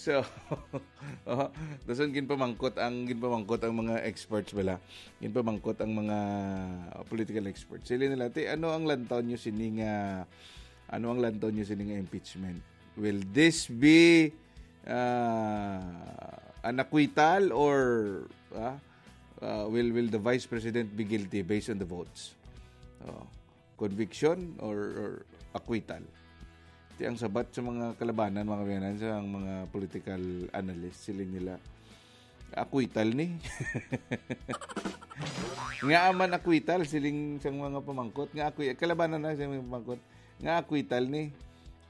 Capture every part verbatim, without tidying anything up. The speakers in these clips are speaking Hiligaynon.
So, oh, dason ginpamangkot ang, ginpamangkot ang mga experts bala. Ginpamangkot ang mga political experts. Sila nila, "Ti, ano ang lantaw nyo sini nga, ano ang lantaw nyo sini nga impeachment? Will this be, ah, an acquittal or, ah, ah, will, will the vice president be guilty based on the votes?" Oh, conviction or, or acquittal? Ti ang sabat sa mga kalabanan, mga kaabyanan, sa ang mga political analyst, siling nila, "Acquittal ni." Nga man acquittal, siling sang mga pamangkot, nga akwi-, kalabanan na sa mga pamangkot, nga acquittal ni.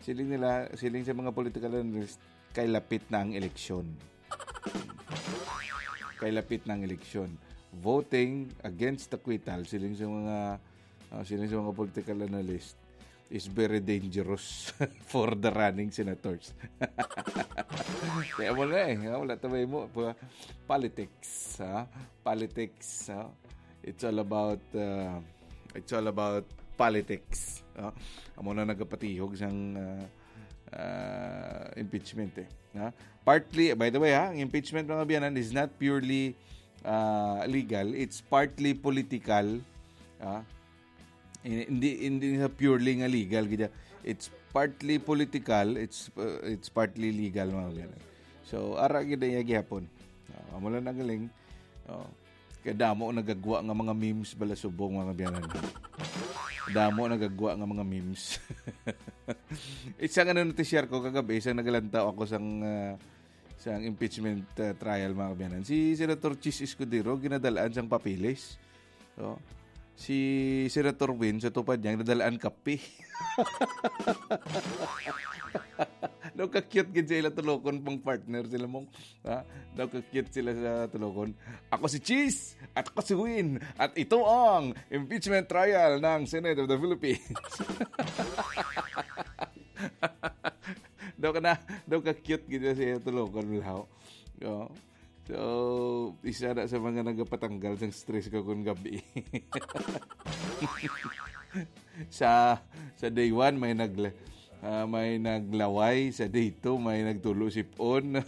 Siling nila, siling sa mga political analyst, kay lapit na ang eleksyon. Kay lapit na ang eleksyon. Voting against acquittal, siling sa mga, ah, siling sa mga political analyst, is very dangerous for the running senators. Kaya mo na eh, ah, wala ta may mo, pa-, politics, ha? Politics, ha? It's all about, uh, it's all about politics, ha? Amo na nagapatihog sang, uh, uh, impeachment eh, ha? Partly, by the way, ha, ang impeachment, mga kaabyanan, is not purely, uh, legal, it's partly political, ha? Hindi, hindi sa purely nga legal gid. It's partly political, it's, uh, it's partly legal, mga kaabyanan. So, ara gid iya gihapon. Oh, amo lang ang galing. Oh. Kay damo nagagwa nga mga memes bala subong, mga kaabyanan. Damo nagagwa nga mga memes. Isa nga na-share ko kagabi, isang nagalantaw ako sang, ah, sang impeachment, ah, trial, mga kaabyanan. Si Senator Chiz Escudero ginadalaan sang papeles. Oh. Si Senator Win, sa tupad niya, nadalaan kape. Daw ka-cute gid sa ila tulokon, pang partner sila mong, ha? Daw ka-cute sila sa tulokon. "Ako si Chiz, at ako si Win, at ito ang impeachment trial ng Senate of the Philippines." Daw ka na, daw ka-cute gid sa ila tulokon, Milhaw. Oh. So, isa na sa mga nagapatanggal sang stress ko kun gabi. Sa, sa day one, may nagla-, ah, may naglaway. Sa day two, may nagtulo sipon.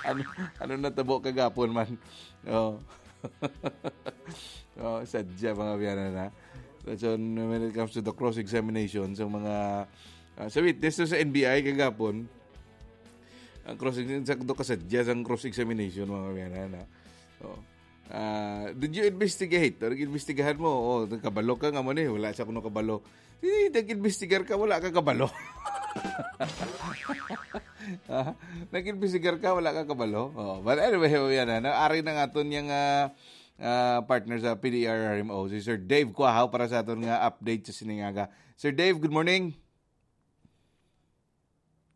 Ano, ano natabo kagapon man? Oh. Oh, sadya, mga kaabyanan, ha? So, when it comes to the cross-examination, sa mga, ah, sa witness sa N B I kagapon, ang cross-exam-, sa, do kasadya sang cross-examination, mga kaabyanan, ha? Oh. Ah, did you investigate? Or nag-investigahan mo? Oh, nagkabalo ka nga mo ni, wala sa kuno kabalo. Di, nag-investigar ka, wala ka kabalo. Ah, nag-investigar ka, wala ka kabalo. Oh, but anyway, oh, yan, ano, ari na nga aton yang, ah, ah, partner sa P D R R M O, si Sir Dave Cuahaw, para sa aton nga update sa sining aga. Sir Dave, good morning.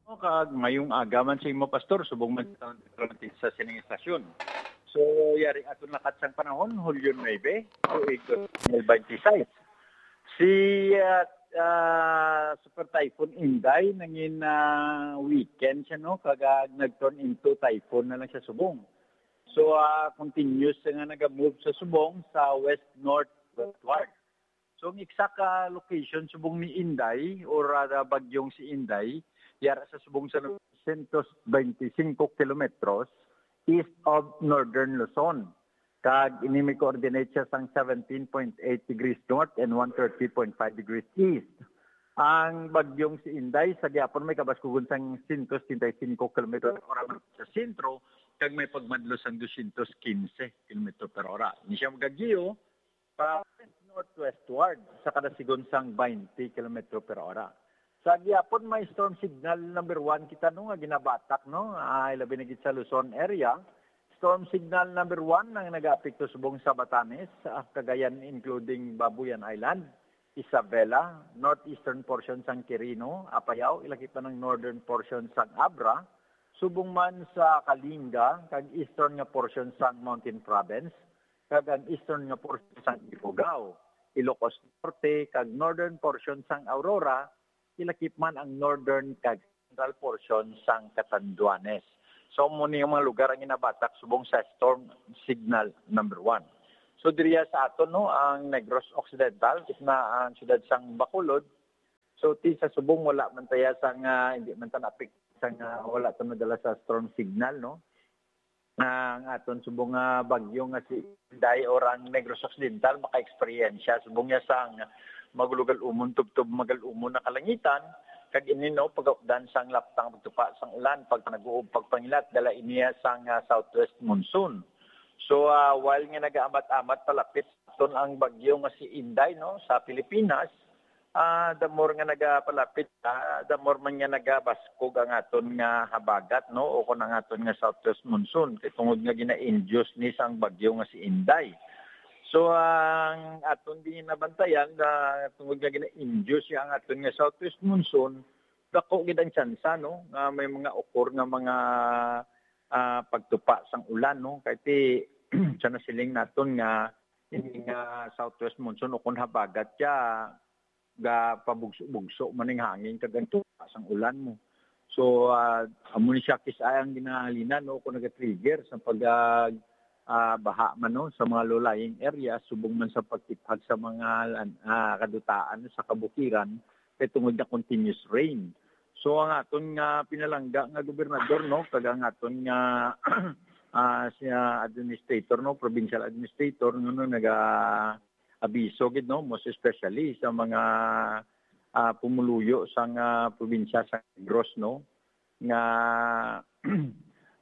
O, kag mayong aga man sa imo, Pastor, subong man sa, sa sining estasyon. So, yari aton lakat sang panahon, Hulyo nuebe, tuig dos mil beintiseis. Si, ah, ah, Super Typhoon Inday nangin, ah, weekend siya, no? Kag, ah, nag-turn into typhoon na lang siya subong. So, ah, continuous siya nga naga-move sa subong sa west-north westward. So, ang exact, ah, location subong ni Inday or, ah, bagyong si Inday, yara sa subong sa sento beintisinko kilometros east of northern Luzon. Kag ini may coordinate siya sang seventeen point eight degrees north and one thirty point five degrees east. Ang bagyong si Inday sa gihapon may kabaskugon sang sento setenta y cinco kilometro per hora man sa sentro, kag may pagmadlo sang dosyentos kinse kilometro per hora. Ini siya magagiyo pa northwestward sa kadasigon sang twenty kilometro per hora. Sa gihapon, may storm signal number one kita, no, nga ginabatak, no, ay labi na gid sa Luzon area. Storm signal number one ang nagaapekto subong sa Batanes, ah, Cagayan, including Babuyan Island, Isabela, northeastern portion sang Quirino, Apayao, ilakip man ang northern portion sang Abra, subong man sa Kalinga kag eastern nga portion sang Mountain Province, kag ang eastern nga portion sang Ifugao, Ilocos Norte, kag northern portion sang Aurora, ilakip man ang northern kag central portion sang Catanduanes. So, amo ni ang mga lugar ang ginabatak subong sa storm signal number one. So, diriya sa aton, no, ang Negros Occidental, gitna ang siyudad sang Bacolod, So, ti sa subong, wala man taya sang, ah, hindi man ta naapektuhan sang, ah, wala ta nadala sa storm signal, no? Ah, ang aton subong nga bagyo nga si Inday or ang Negros Occidental maka-eksperyensya subong niya sang magulogal-umon tubtob magal-umon na kalangitan, kag ini, no, pagupdan sang laptang pagtupa sang ulan, pag nag-uub, pagpangilat, dala ini sang, ah, southwest monsoon. So, ah, while nga nagaamat-amat palapit aton ang bagyo nga si Inday, no, sa Pilipinas, ah, the more nga nagapalapit, ah, the more man nga nagabaskog ang aton nga habagat, no, o kon ang aton nga southwest monsoon, kay tungod nga gina-induce ni sang bagyo nga si Inday. So, ang aton din nabantayan, ah, tungod nga gina-induce siya ang aton nga southwest monsoon, dako gid ang tsansa, no, nga may mga occur nga mga, ah, pagtupa sang ulan, no, kay ti sa nasiling naton nga ini nga southwest monsoon o kon habagat siya, gapabugso-bugso man ning hangin kag ang tupa sang ulan mo. So, ah, amo ni siya kis-a ang ginahalinan, no, kung naga-trigger sa pag, ah, ah, baha man, no, sa mga low-lying area, subong man sa pagtiphag sa mga lan-, ah, kadutaan sa kabukiran, kay tungod na continuous rain. So, ang aton nga pinalangga nga gobernador, no, kag ang aton nga, ah, siya administrator, no, provincial administrator, no, no, naga-abiso gid, no, most especially sa mga, ah, pumuluyo sang, ah, probinsya sa Negros, no, nga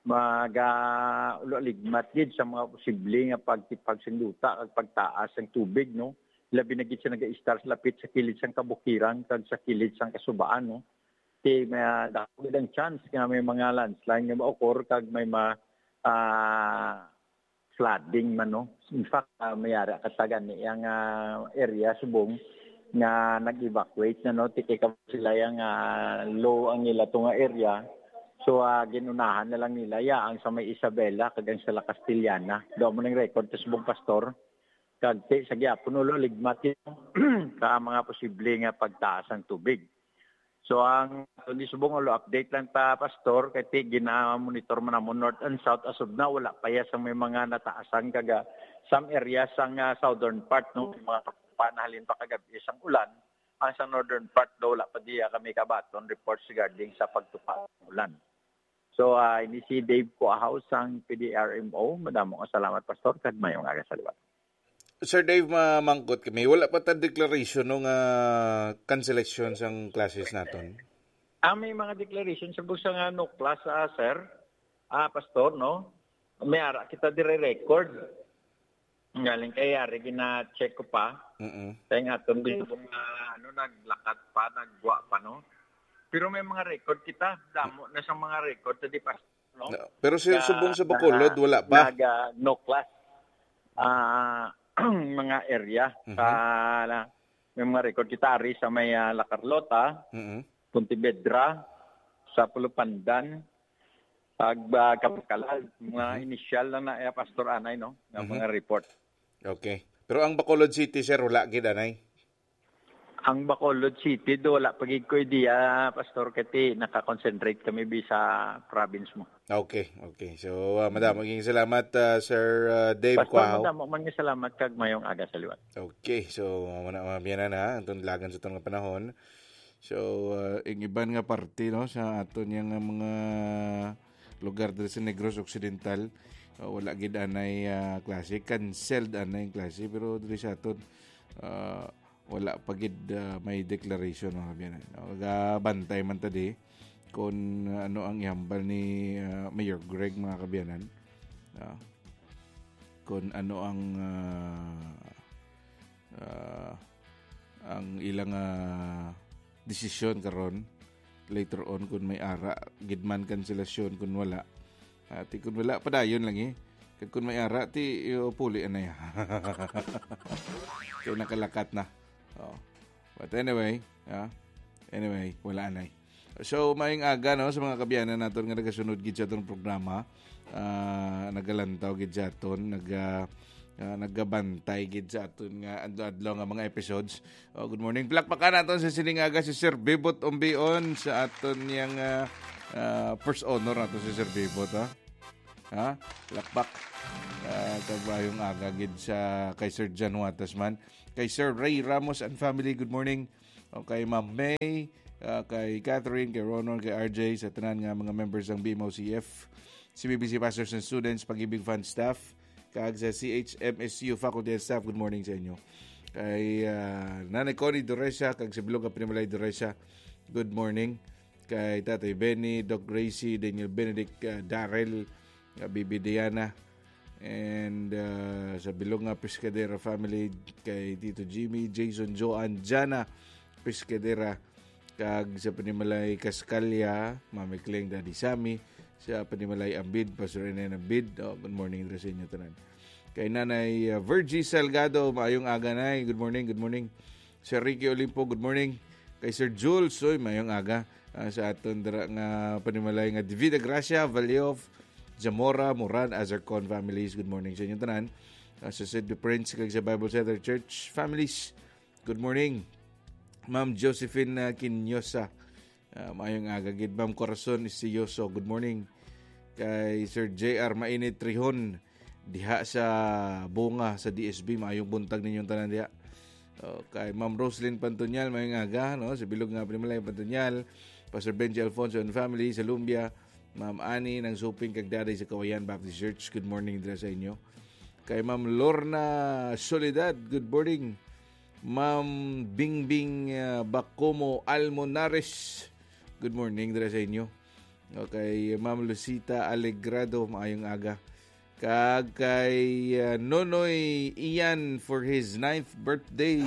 maga-, ulo-aligmat gid sa mga posible nga pagtipag sing duta kag pagtaas sang tubig, no, labi na gid sa nagaistar sa lapit sa kilid sang kabukiran kag sa kilid sang kasubaan, no. Kay may, ah, dako gid ang chance nga may mga landslide nga ma-occur kag may ma-, ah, flooding man, no. In fact, ah, may ara ka taga ni ang, ah, area subong nga nag-evacuate na, no. Ti kay kamo sila yang, ah, low ang nila to nga area. So, ah, ginunahan na lang nila ya ang sa may Isabela kag ang sa La Castellana. Do mo ning record sa subong, Pastor. Kag ti sa gyapon ulo ligmat yun ka mga posible nga pagtaas ang tubig. So, ang aton di subong ulo update lang ta, Pastor, kay ti gina-monitor man namon north and south as of now, wala pa ya sa may mga nataasan kag, ah, some areas sang, ah, southern part, no, may mga pa nahalin pa kagabi sang ulan. Ang sa northern part daw wala pa diya kami kabaton reports regarding sa pagtupa ng ulan. So, ah, ini si Dave Cuahaw sang P D R M O. Madamo nga salamat, Pastor, kag mayong aga sa liwat. Sir Dave, mamangkot kami. Wala pa ta declaration, no, nga cancellation sang classes naton? Ah, may mga declaration sa busa nga no class, ah, sir. Ah, Pastor, no? May ara kita dire record. Galing kay ari gina-check ko pa. Mm-mm. Kay nga atong gusto nga, ano, naglakat pa, nagwa pa, no? Pero may mga record kita. Damo na sa mga record sa di pa, no? No. Pero si Nga subong sa Bacolod, na-, wala pa. Naga, no class. Ah, mga area Mhm. sa, may mga record kita ari sa may, ah, La Carlota, Mm-mm. Pontevedra, sa Pulupandan, ag, ah, Kapakalal. Mga Mhm. initial lang na, eh, Pastor Anay, no? Nga Mhm. mga report. Okay. Pero ang Bacolod City, sir, wala gid anay? Ang Bacolod City, do, wala pa gid ko idea, Pastor, kay ti naka-concentrate kami bi sa province mo. Okay, okay. So, ah, madamo gid salamat, ah, Sir, ah, Dave Pastor, Cuahaw. Madamo man nga salamat kag mayong aga sa liwat. Okay, so, muna, mga biyanan, ha, ang tunlagan sa itong panahon. So, ah, ang iban nga parte, no, sa aton yang, ah, mga lugar diri sa Negros Occidental, ah, wala gid anay, ah, klase, canceled anay ang klase, pero diri sa aton, ah, wala pa gid, ah, may declaration, mga kabiyanan. No? Gabantay man ta di kung ano ang ihambal ni, ah, Mayor Greg, mga kabiyanan. Ah, kung ano ang, ah, ah, ang ilang, ah, desisyon karon, later on, kung may ara gid man kanselasyon, kung wala. Ah, ti kung wala, padayon lang eh. Kag kung may ara, ti, yo, puli anay. Kay nakalakat na. Oh. But anyway, ah, anyway, wala anay. So, maayong aga, no, sa mga kabiyanan naton nga nagasunod gid sa aton programa. Ah, nagalantaw gid sa aton, naga-, ah, nagabantay gid sa aton nga adlaw-adlaw nga mga episodes. Oh, good morning. Palakpakan naton sa sining aga si Sir Bebot Umbion sa aton yang, ah, ah, first honor nato si Sir Bebot, ha? Ha? Palakpak. Ah, kag maayong aga gid sa kay Sir John Watasman. Kay Sir Ray Ramos and family, good morning. O kay Ma'am May, ah, kay Catherine, kay Ronald, kay R J, sa tanan nga mga members sang B M O C F, C B B C Pastors and Students, Pag-ibig Fund Staff, kag sa C H M S U Faculty and Staff, good morning sa inyo. Kay, ah, Nanay Connie Doresa, kag sa bilog nga Panimalay Doresa, good morning. Kay Tatay Benny, Doc Gracie, Daniel Benedict, ah, Daryl, ah, Bibi Diana, and, ah, sa bilog nga Pescadera family, kay Tito Jimmy, Jason, Joan, Jana, Pescadera, kag sa Panimalay Cascalia, Mami Cleng, Daddy Sammy, sa Panimalay Ambid, Pastor Enen Ambid. Oh, good morning dira sa inyo tanan. Kay Nanay, ah, Virgie Salgado, maayong aga, Nay. Good morning, good morning. Sir Ricky Olimpo, good morning. Kay Sir Jules, oy, maayong aga. Ah, sa aton dira nga Panimalay nga Divina Gracia, Valleof, Zamora, Moran, Azarcon families, good morning sa inyo tanan. Ah, sa Saint Prince kag sa Bible Center Church families, good morning. Ma'am Josephine, ah, Quinosa, ah, maayong aga gid. Ma'am Corazon Istiyoso, good morning. Kay Sir J R Mainit Trihon, diha sa Bunga sa D S B, maayong buntag ninyong tanan diha. Oh, kay Ma'am Roslyn Pantonyal, maayong aga, no? Sa bilog nga Panimalay Pantonyal, Pastor Benji Alfonso and family sa Lumbia, Ma'am Annie Nang Suping kag Daday sa Kawayan Baptist Church, good morning dira sa inyo. Kay Ma'am Lorna Soledad, good morning. Ma'am Bingbing, ah, Bacomo Almonares, good morning dira sa inyo. Okay, Ma'am Lucita Alegrado, maayong aga. Kag kay, ah, Nonoy Ian for his ninth birthday.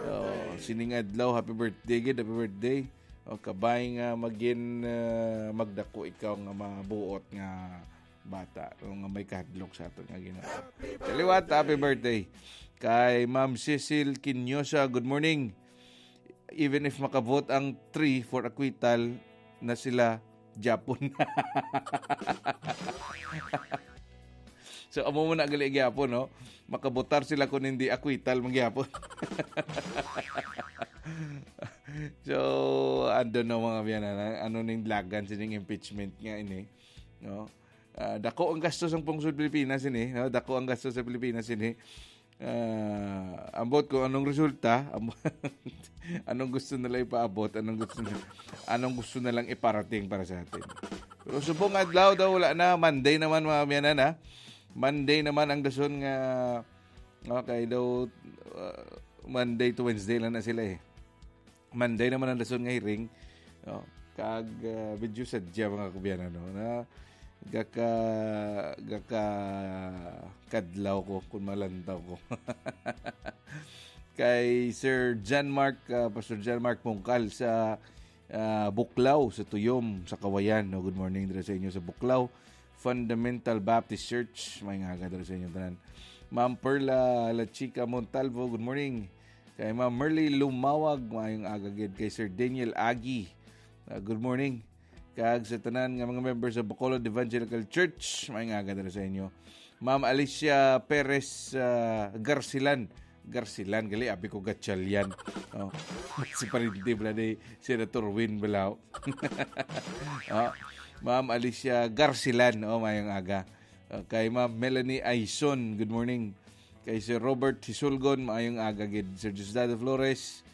Oh, sining adlaw, happy birthday gid, happy birthday. Oh, kabay nga magin, ah, magdako ikaw nga mabuot nga bata, o nga may kahadlok sa aton nga Ginoo. Kaliwat, happy birthday. Kay Ma'am Cecil Quinosa, good morning. Even if makabot ang three for acquittal na sila, Japon. So, amo mo na gali gyapon, no? Makabotar sila kung hindi acquittal man gyapon. So, I don't know, mga biyanan, ano ning lagan sining impeachment nga ini, no? Ah, dako ang gasto sang pungsod Pilipinas ini, no? Dako ang gasto sa Pilipinas ini. Ah, ambot kung anong resulta, am-, anong gusto nila ipaabot, anong gusto na, anong gusto na lang iparating para sa atin. Pero subong adlaw daw, wala na, Monday naman, mga biyanan, ha? Monday naman ang dason nga, okay daw, ah, Monday to Wednesday lang na sila, eh. Monday naman ang dason nga hearing. Oh, kag, ah, medyo sadya, mga kabiyanan, no, na gaka-, gaka-kadlaw ko kung malantaw ko. Kay Sir John Mark, ah, Pastor John Mark Pungkal sa, ah, Buklaw, sa Tuyom, sa Kawayan, no? Good morning dira sa inyo sa Buklaw Fundamental Baptist Church. May nga aga dira sa inyo tanan. Ma'am Perla La Chica Montalvo, good morning. Kay Ma'am Merly Lumawag, maayong aga gid. Kay Sir Daniel Agi, ah, good morning. Kag sa tanan nga mga members sa Bacolod Evangelical Church, maayong aga dira sa inyo. Ma'am Alicia Perez, ah, Garcilan. Garcilan, gali, abi ko Gatchalian. Oh. Si parente bala ni Senator Win Balao. Oh. Ma'am Alicia Garcilan, oh, maayong aga. Ah, kay Ma'am Melanie Aison, good morning. Kay Sir Robert Hisulgon, maayong aga gid. Sir Diosdado Flores,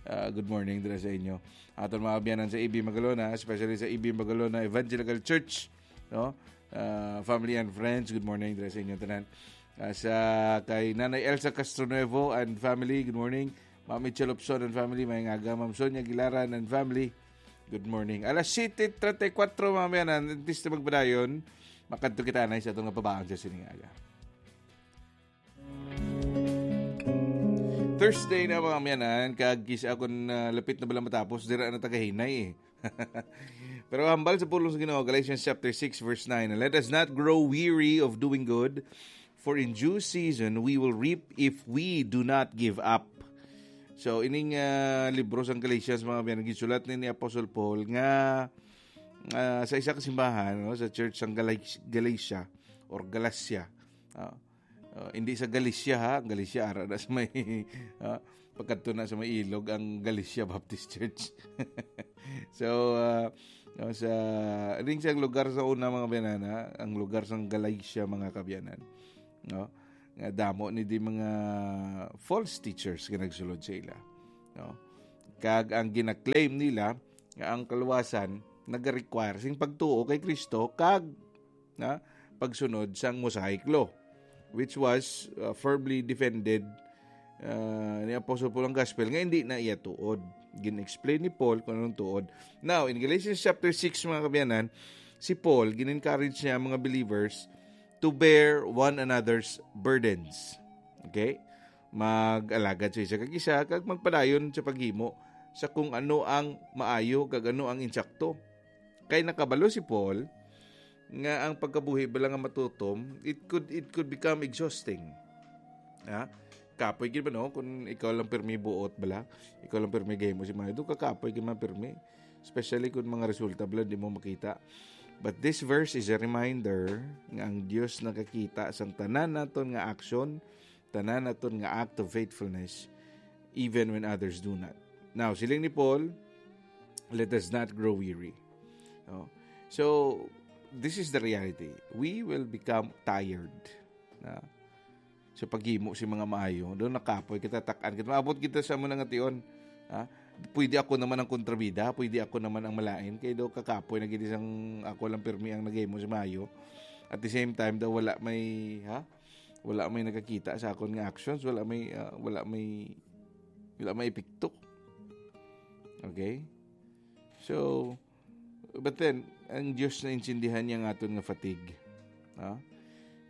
ah, good morning dira sa inyo. Aton mga kabiyanan sa A B Magalona, especially sa A B Magalona Evangelical Church, no? Ah, family and friends, good morning dira sa inyo tanan. Ah, sa kay Nanay Elsa Castronuevo and family, good morning. Ma'am Mitchell Lupson and family, maayong aga. Ma'am Sonia Gilaran and family, good morning. Alas siyete treinta y cuatro, mga kabiyanan, antes na magpadayon, makadto kita na sa atong nga pabaon sa sining aga. Thursday na, mga kabiyanan, kag kis-a kung, ah, lapit na bala matapos, dira na ta kahinay, eh. Pero hambal sa pulong sa Ginoo, Galatians chapter six, verse nine, "Let us not grow weary of doing good, for in due season we will reap if we do not give up." So, ining, ah, libro sang Galatians, mga kabiyanan, ginsulat ni, ni Apostle Paul nga, ah, sa isa ka simbahan, no, sa church sang Galati-, Galatia or Galacia. Ah, ah, hindi sa Galicia, ha? Ang Galicia, ara na sa may, ah, pagkadto na sa may ilog, ang Galicia Baptist Church. So, ah, no, sa, ring sa lugar sa una, mga kabiyanan, ha? Ang lugar sang Galatia, mga kabiyanan, no? Nga damo ni di mga false teachers nga nagsulod sa ila, no? Kag ang gina-claim nila nga ang kaluwasan nagarequire sing pagtuo kay Kristo kag, na, pagsunod sang Mosaic Law, which was, uh, firmly defended, uh, ni Apostle Paul ang gospel nga hindi na iya tuod. Gin-explain ni Paul kung anong tuod. Now, in Galatians chapter six, mga kabiyanan, si Paul, gin-encourage niya ang mga believers to bear one another's burdens. Okay? Mag-alagad sa isa kag isa, kag magpadayon sa paghimo sa kung ano ang maayo kag ano ang insakto. Kay nakabalo si Paul nga ang pagkabuhi bala nga matutom, it could, it could become exhausting. Ha? Kapoy gid ba, no? Kung ikaw lang pirmi buot bala, ikaw lang pirmi gahimo si mga ito, kakapoy gid man pirmi. Especially kung mga resulta bala di mo makita. But this verse is a reminder nga ang Dios nakakita sang tanan naton nga action, tanan naton nga act of faithfulness, even when others do not. Now, siling ni Paul, "Let us not grow weary." No? So, this is the reality. We will become tired. Na? Sa paghimo sa mga maayo, daw nakapoy kita, tak-an kita. Maabot kita sa amo nga tion. Ha? Pwede ako naman ang kontrabida, pwede ako naman ang malain. Kay daw kakapoy na gid sang ako lang pirmi ang naghimo sa maayo. At the same time, daw wala may, ha? Wala may nakakita sa akon nga actions, wala may, ah, wala may, wala may epekto. Okay? So, but then, ang Dios naintindihan niya ang aton nga fatigue. Ha?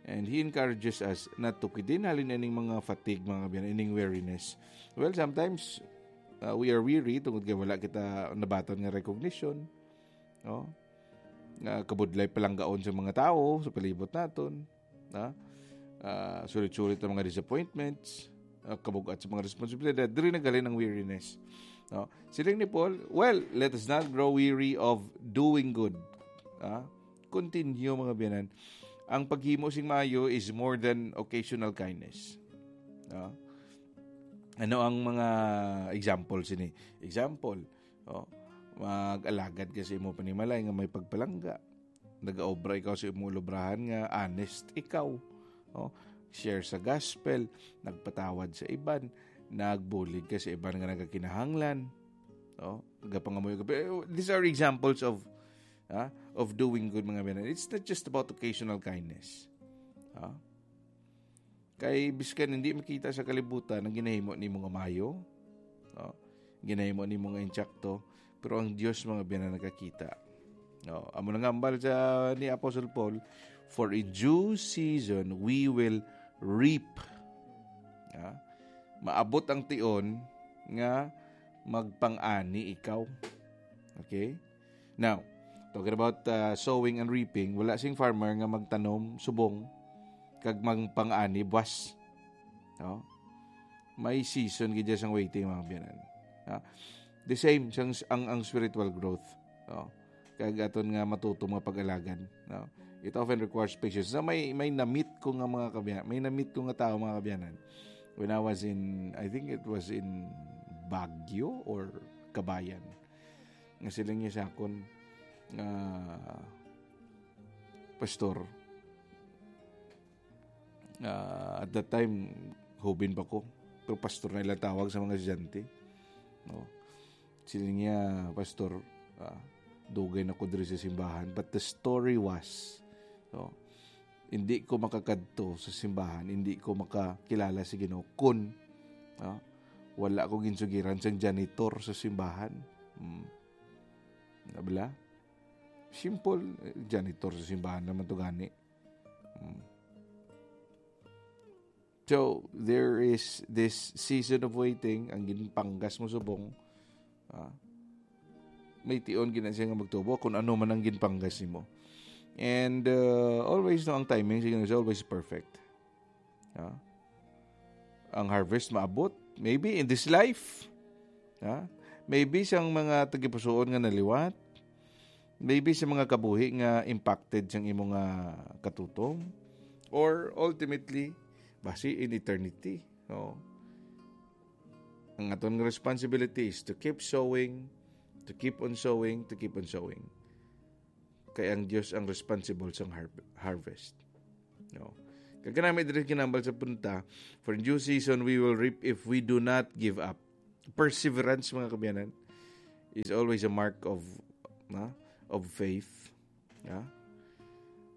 And He encourages us not to quit. Di nalin ining mga fatigue, mga kabiyan, ining weariness. Well, sometimes, uh, we are weary tungod kay wala kita nabaton nga recognition. No? Nga kabudlay palanggaon sa mga tawo sa palibot naton. Ha? Ah, sulit-sulit ang mga disappointments, ah, kabugat sa mga responsibilidad, diri naghalin ang weariness. No? Siling ni Paul, "Well, let us not grow weary of doing good." Ha? Continue, mga biyanan. Ang paghimo sing maayo is more than occasional kindness. No? Ano ang mga example sini? Example, oh, mag-alagad ka sa imo panimalay nga may pagpalangga. Nagaobra ikaw sa imo lubrahan nga honest ikaw. Oh, share sa gospel, nagpatawad sa iban, nagbulig ka sa iban nga nagakinahanglan. Oh, nagapangamuyo ka. Pero these are examples of, ah, of doing good, mga biyanan. It's not just about occasional kindness. Ah? Kay biskan hindi makita sa kalibutan ang ginahimo nimo nga maayo, no? Ginahimo nimo nga insakto, pero ang Dios, mga biyanan, nakakita. No? Amo na nga hambal sa ni Apostle Paul, "For in due season we will reap." Ha? Maabot ang tion nga magpang-ani ikaw. Okay? Now, talking about, uh, sowing and reaping, wala sing farmer nga magtanom subong kag magpang-ani buwas. No? May season gid sang waiting, mga biyanan. Ha? The same sang, ang, ang spiritual growth. No? Kag aton nga matutom nga pag-alagad. No? It often requires patience. Na may, may namit ko nga mga kabiya-, may namit ko nga tao, mga kabiyanan. When I was in, I think it was in Baguio or Kabayan. Nga siling niya sa akon nga, "Pastor," ah, at that time, hubin pa ko. Pero pastor na ilang tawag sa mga estudyante. No? Siling niya, "Pastor, ah, dugay na ko diri sa simbahan, but the story was," no? "Hindi ko makakadto sa simbahan, hindi ko makakilala sa Ginoo kun, ah, wala ko ginsugiran sang janitor sa simbahan." Hmm. Nabla? Simple, eh, janitor sa simbahan naman to gani. Hmm. So, there is this season of waiting, ang ginpanggas mo subong, ah, may tion gina siya nga magtubo kung ano man ang ginpanggas nimo. And, uh, always, no, ang timing sa Ginoo is always perfect. Ah, ang harvest maabot, maybe in this life. Ah, maybe sang mga tagipusoon nga naliwat. Maybe sa mga kabuhi nga impacted sang imo nga katutom. Or ultimately, basi in eternity. No? Ang aton nga responsibility is to keep sowing, to keep on sowing, to keep on sowing. Kay ang Dios ang responsible sang har-, harvest. No? Kag kanami diri ginambal sa punta, "For in due season we will reap if we do not give up." Perseverance, mga kaabyanan, is always a mark of, ha, of faith. Ha?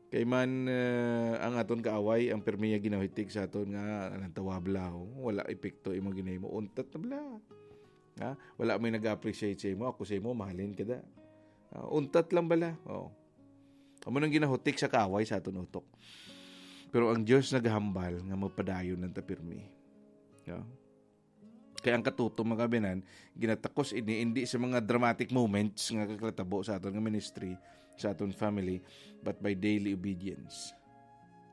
Kay man, uh, ang aton kaaway, ang pirmi niya ginahitik sa aton nga, "Anong tawabla, oh? Wala epekto imong ginahimo. Untat na bala. Ha? Wala may nag-appreciate sa imo. Ako sa imo, mahalin ka da." Ah, untat lang bala. Oh. Amo nang ginahutik sa kaaway sa aton utok. Pero ang Dios nagahambal nga mapadayon lang ta pirmi. Yeah. Kaya ang katuto, mga kaabyanan, ginatakos ini hindi sa mga dramatic moments nga kakatabo sa aton nga ministry, sa aton family, but by daily obedience.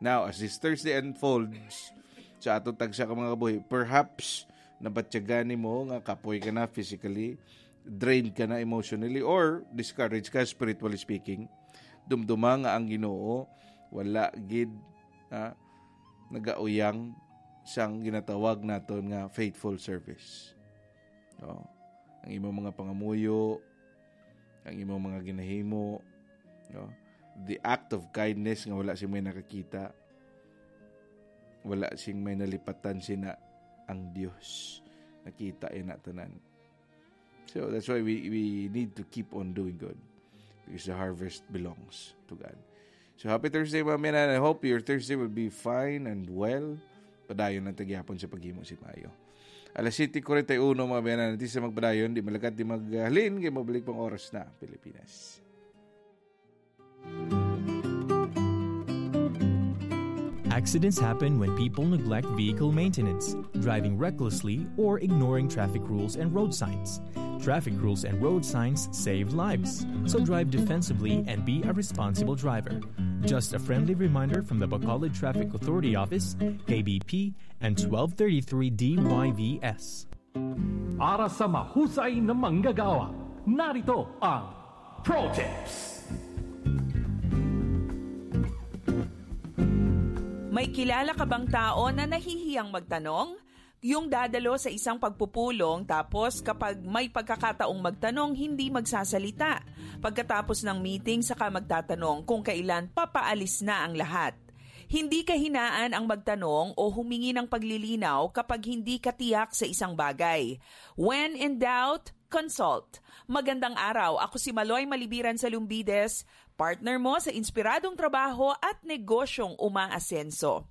Now, as this Thursday unfolds sa aton tagsa ka mga kabuhi, perhaps nabatyagan nimo nga kapoy ka na physically, drained ka na emotionally, or discouraged ka spiritually speaking. Dumduma nga ang Ginoo wala gid, ah, nagauyang sang ginatawag naton nga faithful service. No? Ang imong mga pangamuyo, ang imong mga ginahimo, no? The act of kindness nga wala sing may nakakita, wala sing may nalipatan, sina ang Dios. Nakita ina tanan. So that's why we, we need to keep on doing good, because the harvest belongs to God. So happy Thursday, mga kaabyanan. I hope your Thursday will be fine and well. Padayon lang ta gihapon sa paghimo sing maayo. Alas siyete kuwarenta y uno, mga kaabyanan, di sa magpadayon, di malakat, di maghalin, kay mabalik pang oras na, Pilipinas. Accidents happen when people neglect vehicle maintenance, driving recklessly, or ignoring traffic rules and road signs. Traffic rules and road signs save lives, so drive defensively and be a responsible driver. Just a friendly reminder from the Bacolod Traffic Authority Office, K B P, and twelve thirty-three D Y V S. Para sa mahusay na manggagawa, narito ang Pro Tips. May kilala ka bang tao na nahihiyang magtanong? Yung dadalo sa isang pagpupulong, tapos kapag may pagkakataong magtanong, hindi magsasalita. Pagkatapos ng meeting, saka magtatanong kung kailan papaalis na ang lahat. Hindi kahinaan ang magtanong o humingi ng paglilinaw kapag hindi ka tiyak sa isang bagay. When in doubt, consult. Magandang araw, ako si Maloy Malibiran sa Lumbides, partner mo sa inspiradong trabaho at negosyong umaasenso.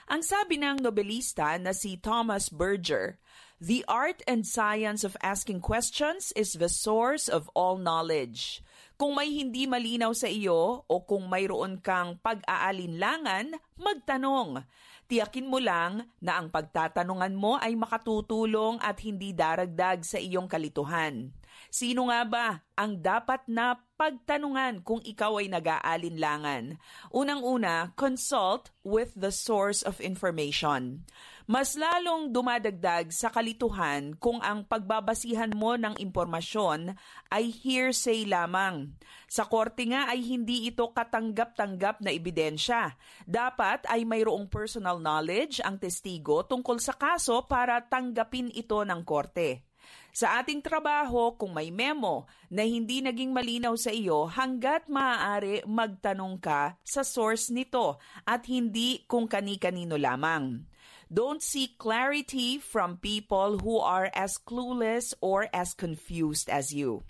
Ang sabi ng nobelista na si Thomas Berger, "The art and science of asking questions is the source of all knowledge." Kung may hindi malinaw sa iyo o kung mayroon kang pag-aalinlangan, magtanong. Tiyakin mo lang na ang pagtatanungan mo ay makatutulong at hindi daragdag sa iyong kalituhan. Sino nga ba ang dapat na pagtanungan kung ikaw ay nag-aalinlangan? Unang-una, consult with the source of information. Mas lalong dumadagdag sa kalituhan kung ang pagbabasihan mo ng impormasyon ay hearsay lamang. Sa korte nga ay hindi ito katanggap-tanggap na ebidensya. Dapat ay mayroong personal knowledge ang testigo tungkol sa kaso para tanggapin ito ng korte. Sa ating trabaho, kung may memo na hindi naging malinaw sa iyo, hanggat maaari magtanong ka sa source nito at hindi kung kani-kanino lamang. Don't seek clarity from people who are as clueless or as confused as you.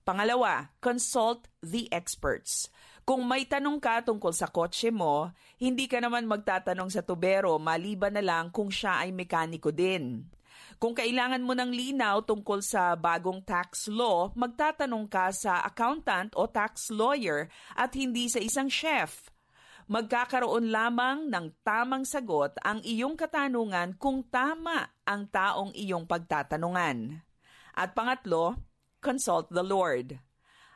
Pangalawa, consult the experts. Kung may tanong ka tungkol sa kotse mo, hindi ka naman magtatanong sa tubero maliban na lang kung siya ay mekaniko din. Kung kailangan mo ng linaw tungkol sa bagong tax law, magtatanong ka sa accountant o tax lawyer at hindi sa isang chef. Magkakaroon lamang ng tamang sagot ang iyong katanungan kung tama ang taong iyong pagtatanungan. At pangatlo, consult the Lord.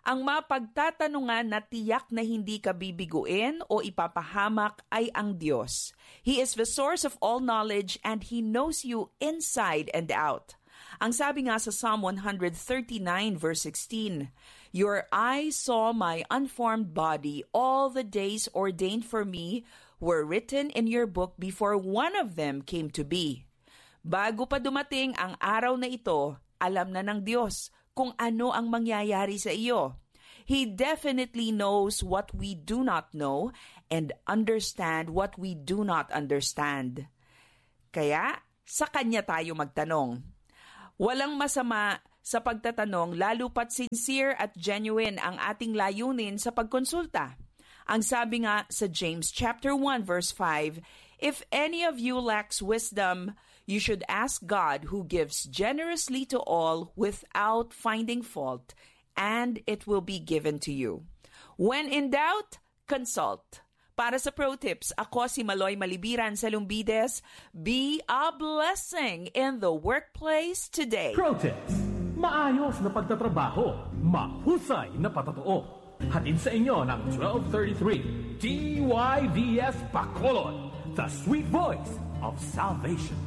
Ang mapagtatanungan na tiyak na hindi ka bibiguin o ipapahamak ay ang Dios. He is the source of all knowledge and He knows you inside and out. Ang sabi nga sa Psalm one hundred thirty-nine verse sixteen, "Your eyes saw my unformed body, all the days ordained for me were written in your book before one of them came to be." Bago pa dumating ang araw na ito, alam na ng Diyos kung ano ang mangyayari sa iyo. He definitely knows what we do not know and understand what we do not understand. Kaya, sa Kanya tayo magtanong. Walang masama sa pagtatanong, lalo pat sincere at genuine ang ating layunin sa pagkonsulta. Ang sabi nga sa James chapter one verse five, "If any of you lacks wisdom, you should ask God, who gives generously to all without finding fault, and it will be given to you." When in doubt, consult. Para sa Pro Tips, ako si Maloy Malibiran sa Lumbides. Be a blessing in the workplace today. Pro Tips. Maayos na pagtatrabaho, mahusay na patotoo. Hatid sa inyo ng twelve thirty-three D Y V S Bacolod, the sweet voice of salvation.